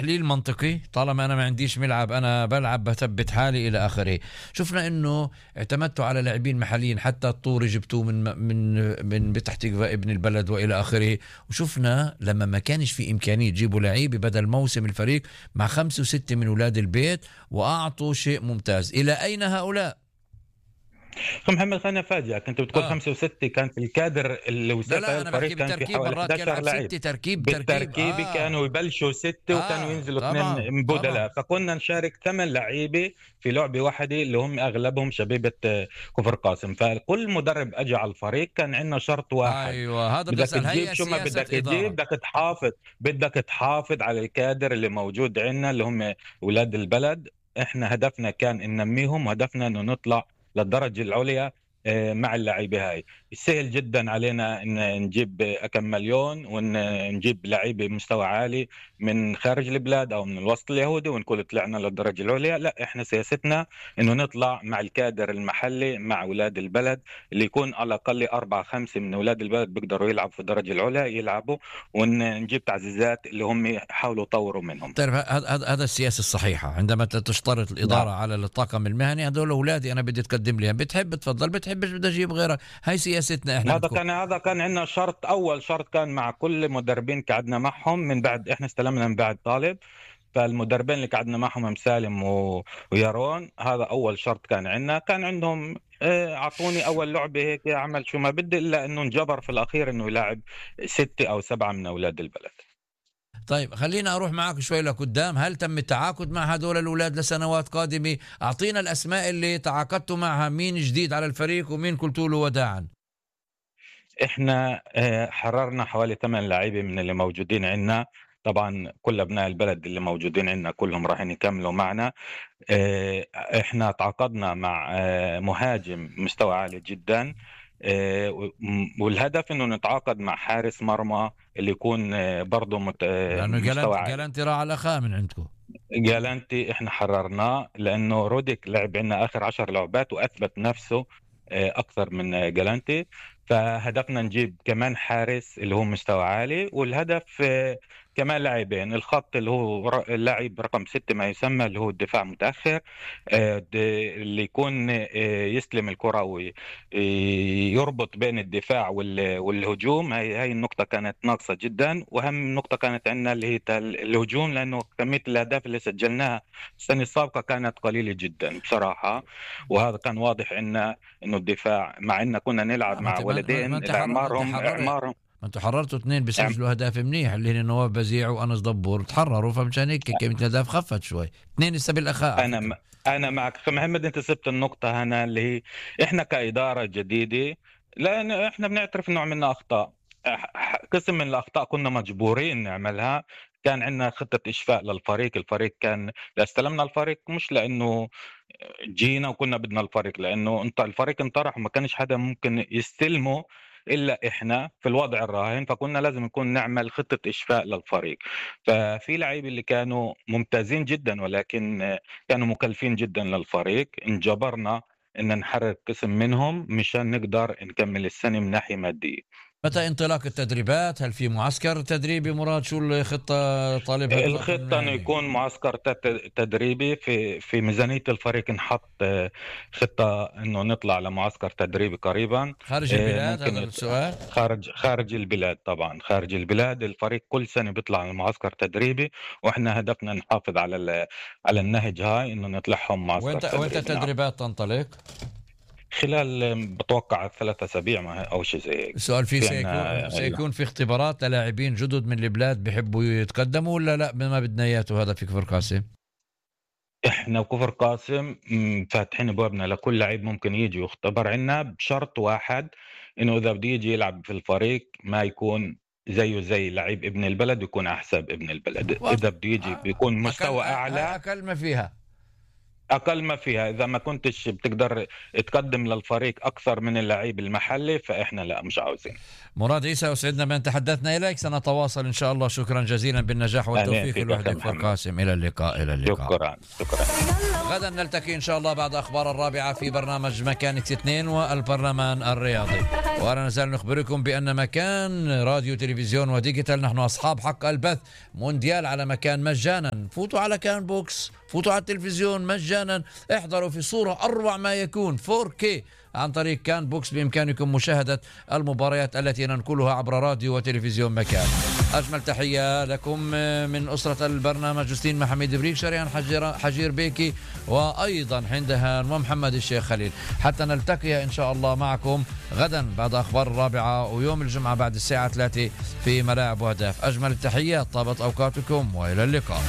تحليل منطقي. طالما أنا ما عنديش ملعب أنا بلعب بثبت حالي إلى آخره. شفنا إنه اعتمدتوا على لاعبين محليين، حتى الطوري جبتوه من بتح تقوى ابن البلد وإلى آخره. وشفنا لما ما كانش في إمكانية تجيبوا لعيبة بدل موسم الفريق مع 5 و6 من أولاد البيت وأعطوا شيء ممتاز. إلى أين هؤلاء؟ أخي محمد خلينا أفاجئك، أنت بتقول 5 و6 كان في الكادر اللي وسافة الفريق كان في حوالي 11 لاعب بالتركيب كانوا يبلشوا 6 وكانوا ينزلوا 2 بدلاء، فكنا نشارك 8 لعيبة في لعبة واحدة اللي هم أغلبهم شبيبة كفر قاسم. فكل مدرب أجى على الفريق كان عندنا شرط واحد، أيوة هذا بدك تجيب شو ما بدك تجيب، بدك تحافظ على الكادر اللي موجود عندنا اللي هم أولاد البلد. إحنا هدفنا كان إن ننميهم، وهدفنا إنه نطلع للدرجة العليا مع اللاعبين. هاي سهل جدا علينا ان نجيب كم مليون ونجيب لعيبه بمستوى عالي من خارج البلاد او من الوسط اليهودي ونقول طلعنا للدرجه العليا. لا، احنا سياستنا انه نطلع مع الكادر المحلي مع اولاد البلد، اللي يكون على الاقل 4-5 من اولاد البلد بيقدروا يلعبوا في الدرجه العليا يلعبوا، ونجيب تعزيزات اللي هم يحاولوا يطوروا منهم. طيب هذا السياسه الصحيحه. عندما تشترط الاداره على الطاقم المهني، هذول اولادي انا بدي تقدم لي، بتحب تفضل، بتحبش بدي اجيب غيرك. هاي سياستنا احنا. هذا كان عندنا شرط، اول شرط كان مع كل مدربين قعدنا معهم من بعد احنا استلمنا من بعد طالب. فالمدربين اللي قعدنا معهم مسالم ويارون، هذا اول شرط كان عندنا. كان عندهم اعطوني اول لعبه هيك عمل شو ما بدي، الا انه انجبر في الاخير انه يلاعب 6 أو 7 من اولاد البلد. طيب خلينا أروح معك شوي لقدام. هل تم التعاقد مع هدول الأولاد لسنوات قادمة؟ أعطينا الأسماء اللي تعاقدتوا معها، مين جديد على الفريق ومين قلتوا له وداعا. إحنا حررنا حوالي 8 لاعبين من اللي موجودين عندنا. طبعا كل أبناء البلد اللي موجودين عندنا كلهم راح يكملوا معنا. إحنا تعاقدنا مع مهاجم مستوى عالي جدا، والهدف انه نتعاقد مع حارس مرمى اللي يكون برضه مستوى عالي. جالنتي راح على خا من عندكم. جالنتي احنا حررناه لانه روديك لعب عندنا اخر 10 لعبات واثبت نفسه اكثر من جالنتي. فهدفنا نجيب كمان حارس اللي هو مستوى عالي، والهدف كمان لاعبين. الخط اللي هو اللاعب رقم 6 ما يسمى اللي هو الدفاع متأخر، اللي يكون يستلم الكرة ويربط بين الدفاع والهجوم. هاي النقطة كانت ناقصة جدا، وأهم نقطة كانت عندنا اللي هي الهجوم، لأنه كمية الأهداف اللي سجلناها السنة السابقة كانت قليلة جدا بصراحة. وهذا كان واضح عنا إنه الدفاع، مع إننا كنا نلعب مع ولدين أعمارهم ما انتوا حررتوا 2 بيسجلوا اهداف منيح، اللي هن نواف بزيع وانس دبور تحرروا، فمشان هيك كمية الاهداف خفت شوي. 2 لسه بالاخاء. انا معك اخي محمد، انت سبت النقطة هنا اللي هي احنا كإدارة جديدة، لان احنا بنعترف انه عملنا اخطاء. قسم من الاخطاء كنا مجبورين نعملها. كان عندنا خطة إشفاء للفريق. الفريق كان استلمنا الفريق مش لأنه جينا وكنا بدنا الفريق، لأنه الفريق انطرح وما كانش حدا ممكن يستلمه إلا إحنا في الوضع الراهن. فكنا لازم نكون نعمل خطة إشفاء للفريق. ففي لعيبة اللي كانوا ممتازين جدا ولكن كانوا مكلفين جدا للفريق، انجبرنا إن نحرر قسم منهم مشان نقدر نكمل السنة من ناحية مادية. متى انطلاق التدريبات؟ هل في معسكر تدريبي مراد؟ شو الخطة طالبها؟ الخطة انه يكون معسكر تدريبي في ميزانية الفريق. نحط خطة انه نطلع لمعسكر تدريبي قريبا خارج البلاد. هذا السؤال خارج البلاد. طبعا خارج البلاد الفريق كل سنة بيطلع لمعسكر تدريبي، واحنا هدفنا نحافظ على النهج هاي انه نطلعهم معسكر تدريبي. وانت التدريبات تنطلق خلال بتوقع 3 أسابيع أو شيء زي هيك. السؤال فيه سيكون في اختبارات للاعبين جدد من البلاد بيحبوا يتقدموا ولا لا ما بدنا اياته؟ هذا في كفر قاسم احنا وكفر قاسم فاتحين ابوابنا لكل لعيب ممكن يجي يختبر عنا، بشرط واحد انه اذا بده يجي يلعب في الفريق ما يكون زيه زي لعيب ابن البلد، يكون احسن ابن البلد. اذا بده يجي بيكون مستوى اعلى. اقل ما فيها أقل ما فيها، إذا ما كنتش بتقدر تقدم للفريق أكثر من اللعيب المحلي فإحنا لا مش عاوزين. مراد عيسى، أسعدنا بأن تحدثنا إليك، سنتواصل إن شاء الله. شكرا جزيلا، بالنجاح والتوفيق لوحدك والقاسم. إلى اللقاء. إلى اللقاء. شكرا. غدا نلتقي إن شاء الله بعد أخبار 4 في برنامج مكانة 2 والبرلمان الرياضي. ولا نزال نخبركم بأن مكان راديو تلفزيون وديجيتال نحن أصحاب حق البث مونديال على مكان مجانا. فوتوا على كان بوكس، فوتوا على التلفزيون مجانا، احضروا في صورة أروع ما يكون 4K عن طريق كان بوكس. بإمكانكم مشاهدة المباريات التي ننقلها عبر راديو وتلفزيون مكان. أجمل تحية لكم من أسرة البرنامج، جوستين محمد بريك، شريان حجير بيكي، وأيضا حندهان ومحمد الشيخ خليل. حتى نلتقي إن شاء الله معكم غدا بعد أخبار 4 ويوم الجمعة بعد الساعة 3 في ملاعب وهداف. أجمل التحيات، طابت أوقاتكم وإلى اللقاء.